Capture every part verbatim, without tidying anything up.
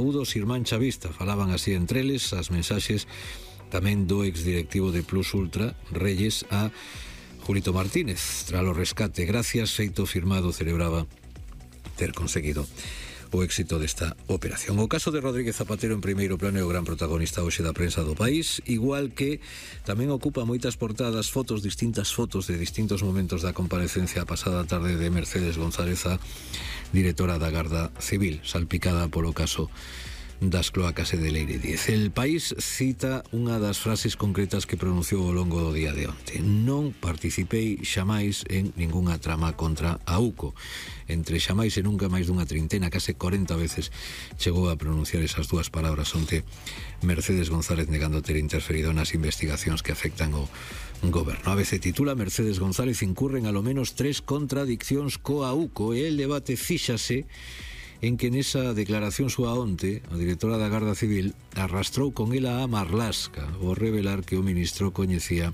saúdos irmán chavista, falaban así entre eles as mensaxes tamén do exdirectivo de Plus Ultra, Reyes, a Julito Martínez, tras o rescate. Gracias, feito firmado, celebraba ter conseguido o éxito desta operación. O caso de Rodríguez Zapatero en primeiro plano é o gran protagonista hoxe da prensa do país, igual que tamén ocupa moitas portadas fotos, distintas fotos de distintos momentos da comparecencia pasada tarde de Mercedes González, a directora da Garda Civil, salpicada polo caso das cloacas e de Leire Díez. El País cita unha das frases concretas que pronunciou ao longo do día de onte: non participei xamais en ningunha trama contra a UCO. Entre xamais e nunca, máis dunha trintena, case corenta veces chegou a pronunciar esas dúas palabras onte Mercedes González, negando ter interferido nas investigacións que afectan o goberno. A veces titula: Mercedes González incurren a lo menos tres contradiccións coa UCO, e el debate fíxase en que nesa declaración súa onte a directora da Garda Civil arrastrou con ela a Marlaska ao revelar que o ministro coñecía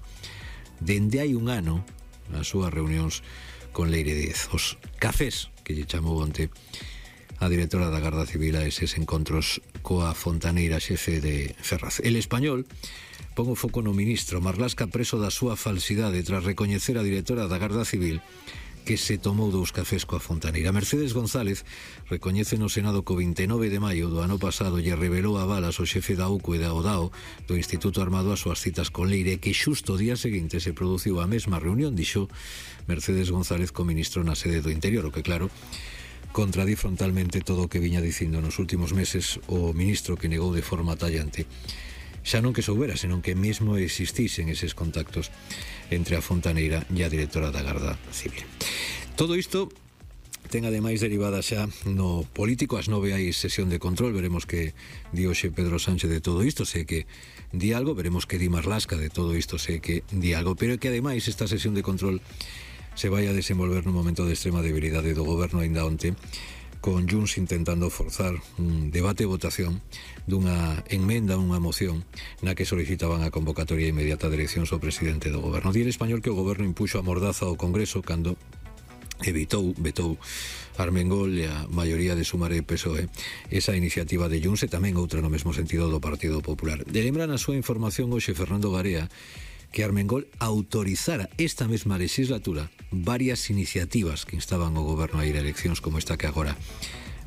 dende hai un ano nas súas reunións con Leire Díez, os cafés que lle chamou onte a directora da Garda Civil a eses encontros coa fontaneira xefe de Ferraz. El Español pon o foco no ministro. Marlaska preso da súa falsidade tras recoñecer a directora da Garda Civil que se tomou dous cafés coa fontaneira. Mercedes González recoñece no Senado que o vinte e nove de maio do ano pasado lle revelou a balas o xefe da UCO e da O D A O do Instituto Armado as súas citas con Leire, que xusto o día seguinte se produciu a mesma reunión, dixo Mercedes González co ministro na sede do Interior, o que claro contradí frontalmente todo o que viña dicindo nos últimos meses o ministro, que negou de forma tallante xa non que soubera, senón que mesmo existisen eses contactos entre a fontaneira e a directora da Garda Civil. Todo isto ten ademais derivada xa no político. Ás nove hai sesión de control, veremos que di hoxe Pedro Sánchez de todo isto, sei que di algo, veremos que di Marlaska de todo isto, sei que di algo, pero que ademais esta sesión de control se vai a desenvolver nun momento de extrema debilidade do goberno aínda onte, con Junts intentando forzar un debate e votación dunha enmenda, unha moción na que solicitaban a convocatoria inmediata de eleccións ao presidente do goberno. Di El Español que o goberno impuxo a mordaza ao Congreso cando evitou, vetou Armengol e a maioría de Sumar e P S O E esa iniciativa de Junts, e tamén outra no mesmo sentido do Partido Popular. De lembra na súa información hoxe Fernando Garea que Armengol autorizara esta mesma legislatura varias iniciativas que instaban o goberno a ir a eleccións como esta que agora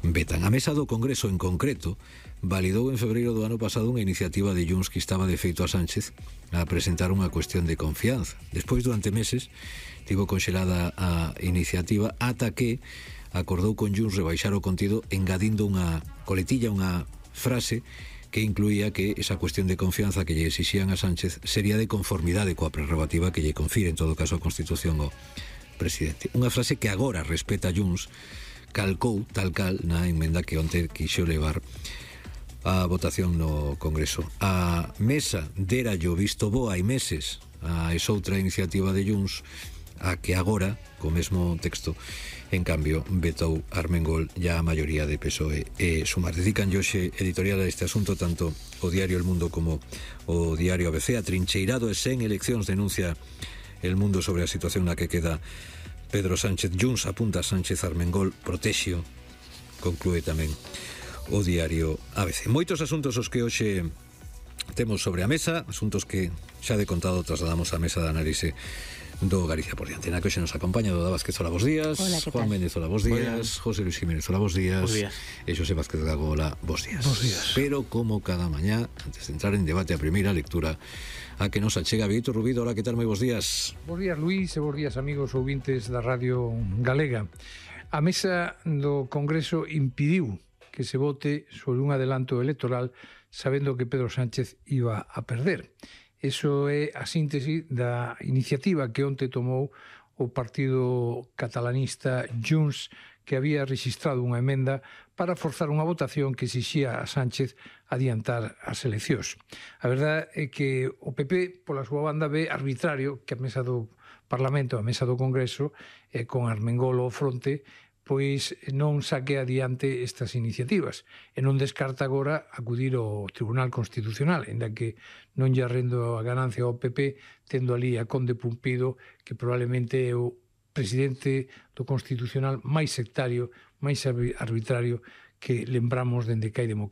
vetan. A mesa do Congreso en concreto validou en febreiro do ano pasado unha iniciativa de Junts que estaba de feito a Sánchez a presentar unha cuestión de confianza. Despois, durante meses, tivo conxelada a iniciativa ata que acordou con Junts rebaixar o contido engadindo unha coletilla, unha frase que incluía que esa cuestión de confianza que lle exixían a Sánchez sería de conformidade coa prerrogativa que lle confire en todo caso a Constitución ao presidente. Unha frase que agora respeta Junts, calcou tal cal na enmenda que onte quixo levar a votación no Congreso. A mesa dera yo visto bo hai meses a esa outra iniciativa de Junts, a que agora, co mesmo texto, en cambio, vetou Armengol e a maioría de P S O E e Sumar. Dedican hoxe editorial a este asunto tanto o diario El Mundo como o diario A B C. Atrincheirado e sen eleccións, denuncia El Mundo sobre a situación na que queda Pedro Sánchez. Junts apunta a Sánchez, Armengol protexio, conclúe tamén o diario A B C. Moitos asuntos os que hoxe temos sobre a mesa, asuntos que xa de contado trasladamos á mesa de análise do Galicia por diante. Na que hoxe nos acompaña Doda Vázquez, hola, bos días. Hola, Juan Méndez, hola, bos días. José Luis Jiménez, hola, bos días. Bos días. E Xosé Vázquez Gago, hola, bos días. Bos días. Pero como cada mañá, antes de entrar en debate a primeira lectura, a que nos achega Víctor Rubido. Hola, que tal? Moi bos días. Bos días, Luís, e bos días, amigos ouvintes da Radio Galega. A mesa do Congreso impediu que se vote sobre un adelanto electoral sabendo que Pedro Sánchez iba a perder. Eso é a síntese da iniciativa que onte tomou o partido catalanista Junts, que había registrado unha emenda para forzar unha votación que exixía a Sánchez adiantar as eleccións. A verdade é que o P P, pola súa banda, ve arbitrario que a mesa do Parlamento, a mesa do Congreso, eh, con Armengol ao fronte, pois non saque adiante estas iniciativas e non descarta agora acudir ao Tribunal Constitucional, ainda que non lle arrendo a ganancia ao P P, tendo ali a Conde Pumpido, que probablemente é o presidente do Constitucional máis sectario, máis arbitrario que lembramos dende que hai democracia